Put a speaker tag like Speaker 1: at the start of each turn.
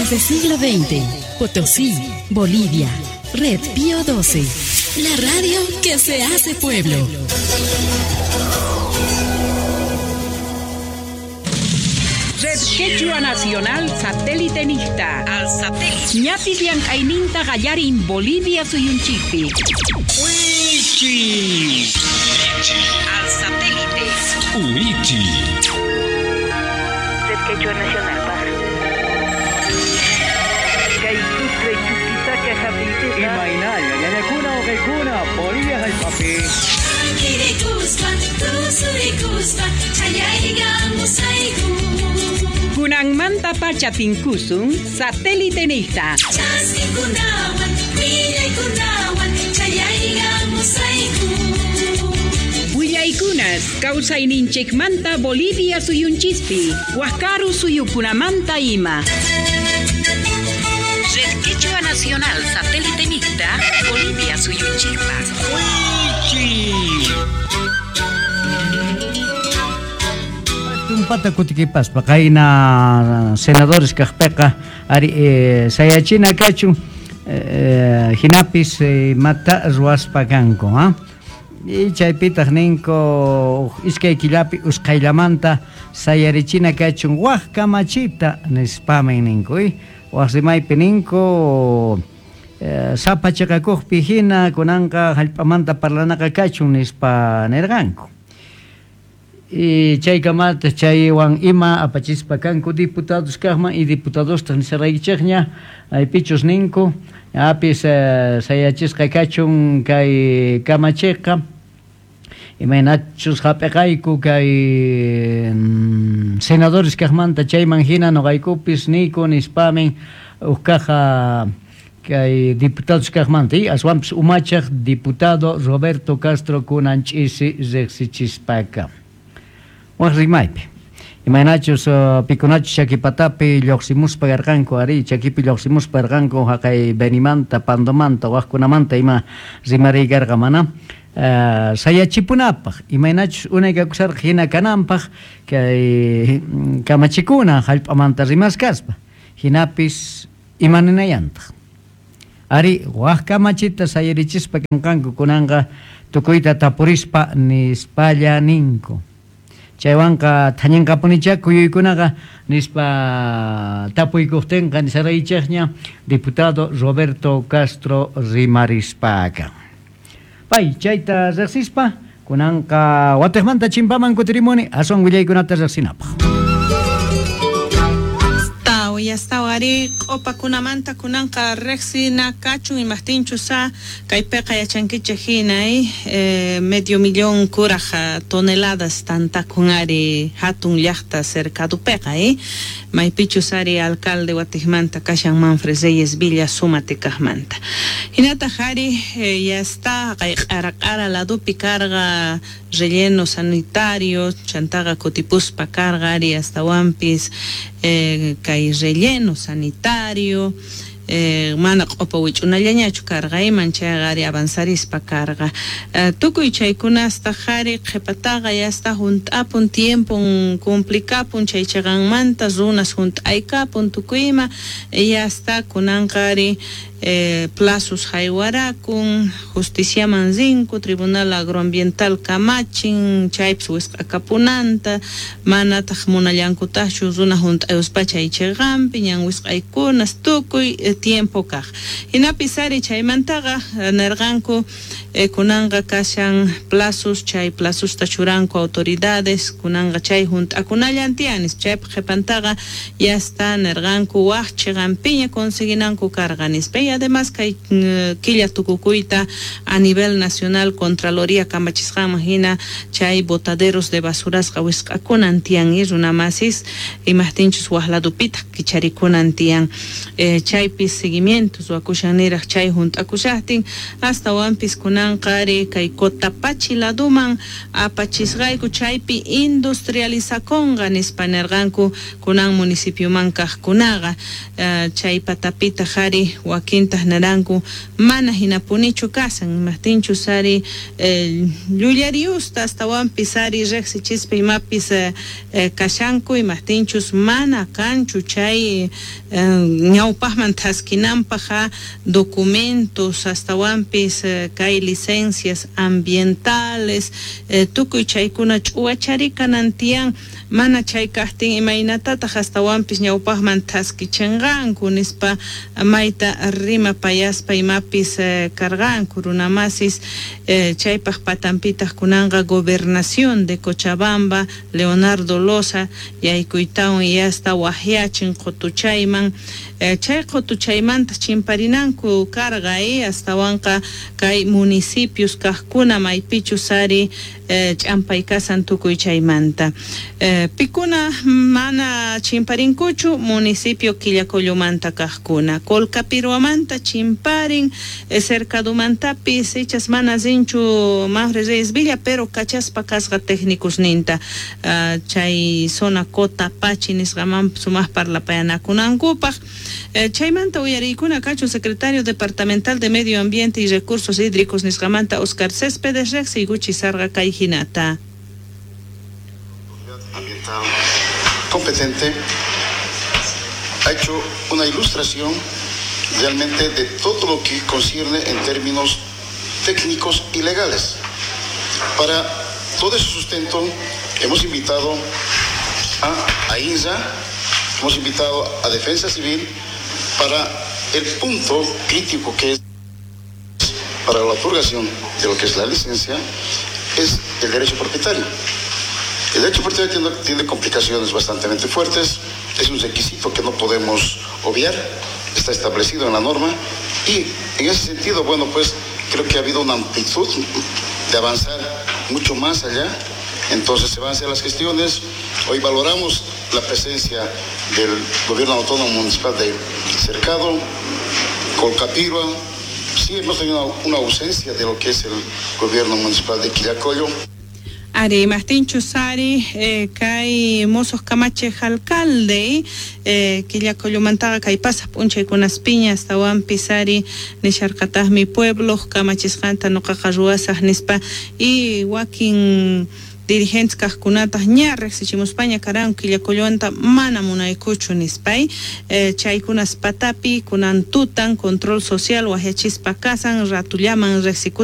Speaker 1: Desde siglo XX, Potosí, Bolivia. Red Pío 12. La radio que se hace pueblo.
Speaker 2: Red Quechua Nacional Satélite Nista. Al satélite. Ñapis llank'ayninta qallarin Bolivia suyunchikpi.
Speaker 3: Wichi.
Speaker 2: Al satélite.
Speaker 3: Wichi.
Speaker 4: Red Quechua Nacional Paz.
Speaker 5: Kay Sucre, Chuquisaca, Japitita.
Speaker 6: Imaynalla, ñañakuna, uqaykuna, Bolivia hallp'api.
Speaker 2: Kunanmanta pacha tinkusun satélite nista. Willaykunas kawsayninchikmanta Bolivia suyunchispi, Wakaru suyukunamanta ima. Red Quechua Nacional Satélite Mixta, Bolivia suyunchikpa.
Speaker 3: Wichi.
Speaker 7: Tumpata kutikipaspa qayna senadores kaqpiqa ari sayachina kachun hinapis mata ruwaspa kanku, ha? Y chaypitaq ninku iskay killapi usqhayllamanta sayarichina kachun waj kamachita nispamin ninku, waj rimaypi ninku sapa chiqakuqpi hina kunanqa hallp'amanta parlanaqa kachun nispa nirqanku. Y chaykamata chaywan ima apachispa kanku diputados kaqman y diputadostaq nisaraykichikña aypichus ninku apis sayachisqa kachun kay kamachiqa imaynachus hap'iqayku kay senadores kaqmanta chayman hina nuqaykupis niyku nispamin uj kaqa kay diputados kaqmanta y aswanpis umachaq diputado Roberto Castro kunan ch'isi riqsichispaka. Waj rimaypi imaynachus pikunachus chakipatapi lluqsimuspa karqanku ari chakipi lluqsimuspa karqanku haqay Benimanta, Pandomanta, wajkunamanta ima rimariy karqa mana sayachipunapaq imaynachus unay kakusarqa hina kananpaq kay kamachikuna hallp'amanta rimaskaspa hinapis imaninayantaq ari waj kamachita sayarichispa kanqanku kunanqa tukuyta tapurispa nispalla ninku. Chaywanqa thañinqapunichá kuyuykunaqa nispa tapuykuqtinqa nisaraychikña diputado Roberto Castro rimarispaqa. Pay chayta riqsispa kunanqa watiqmanta chimpaman kutirimuni aswan willaykunata riqsinapaq.
Speaker 8: Yastawari q'upakunamanta kunanqa riqsina kachun imaqtinchus sa kaypiqa yachankichik hina medio millón kuraj toneladas tantakun ari hatun llaqta cercadupiqa maypichus ari alcalde watiqmanta kashan Manfred Reyes Villa Sumate kaqmanta hinataq ari yasta kay q'ara q'ara ladupi karqa relleno sanitario chantaqa kutipuspa karqa ari astawanpis kay relleno sanitario mana q'upa wich'unallañachu karqa iman chayqa ari avanzarispa karqa tukuy chaykunastaq ari qhipataqa yasta hunt'apun tiempon complicapun chay chiqanmanta runas hunt'aykapun tukuy ima yasta kunanqa ari plazos haywarakun justiciaman rinku tribunal agroambiental kamachin chaypis wisq'akapunanta manataq munallankutaqchu runa hunt'ayuspa chay chiqanpi ñan wisq'aykunas tukuy tiempo kaq hinapis ari chaymantaqa nirqanku kunanqa kashan plazos chay plazosta churanku autoridades kunanqa chay hunt'akunallan tiyan chaypaq qhipantaqa yasta nirqanku waj chiqanpiña conseguinanku karqa nispa. Y además kay killa tukukuyta a nivel nacional Contraloría kamachisqanman hina chay botaderos de basurasqa wisq'akunan tiyan y runamasis imaqtinchus waj ladupitaq kicharikunan tiyan chaypis seguimientos ruwakushan niraq chay hunt'akushaqtin astawanpis kunanqa Kunanqa ari kay Cotapachi laduman apachisqayku chaypi industrializakunqa nispa nirqanku kunan municipioman kaqkunaqa. Chay patapitaq ari wakintaq niranku mana hinapunichu kasan, imaqtinchus ari llullariusta astawanpis ari riqsichispa imapis kashanku, imaqtinchus mana kanchu chay ñawpaqman thaskinanpaq documentos astawanpis kay licencias ambientales tukuy chaykuna ch'uwachari kanan tiyan, mana chay kaqtin imaynatataq astawanpis ñawpaqman thaskichinqanku nispa mayta rimapayaspa imapis karqanku runamasis. Chaypaq patanpitaq kunanqa gobernación de Cochabamba Leonardo Loza yaykuytawan yasta waqyachin qutuchayman, chay qutuchaymanta chimparinanku karqa astawanqa kay municipios kaqkuna maypichus ari ch'ampay kasan tukuy chaymanta. Pikuna mana chimparinkuchu municipio Quillacollomanta kaqkuna, Colcapiruamanta chimparin, Cercadumantapis ichas mana rinchu Mafre Reyes Villa, pero kachaspa kasqa técnicos ninta chay zona Cotapachi nisqaman sumaq parlapayanakunankupaq. Chaymanta uyariykuna kachun secretario departamental de Medio Ambiente y Recursos Hídricos nisqamanta Oscar Céspedes riqsiykuchi sarqa kay hinata.
Speaker 4: Ambiental competente ha hecho una ilustración realmente de todo lo que concierne en términos técnicos y legales. Para todo ese sustento hemos invitado a AINSA, hemos invitado a Defensa Civil para el punto crítico que es para la otorgación de lo que es la licencia, es el derecho propietario. El derecho propietario tiene complicaciones bastante fuertes, es un requisito que no podemos obviar, está establecido en la norma y en ese sentido, bueno, pues creo que ha habido una amplitud de avanzar mucho más allá. Entonces se van a hacer las gestiones. Hoy valoramos la presencia del gobierno autónomo municipal de Cercado, Colcapirhua. Sí hemos tenido una ausencia de lo que es el gobierno municipal de Quillacollo.
Speaker 8: Ari, imaqtinchus ari kay mosoj kamachej alcalde Quillacollomantaqa kay pasaq p'unchaykunaspiña astawanpis ari nisharqataqmi pueblo kamachisqanta nuqaqa ruwasaq nispa y wakin dirigentes kaqkunataq ña riqsichimuspaña karanku Quillacollomanta mana munaykuchu nispay. Chaykunas patapi kunan tutan control social waqyachispa kasan ratullaman riqsikus.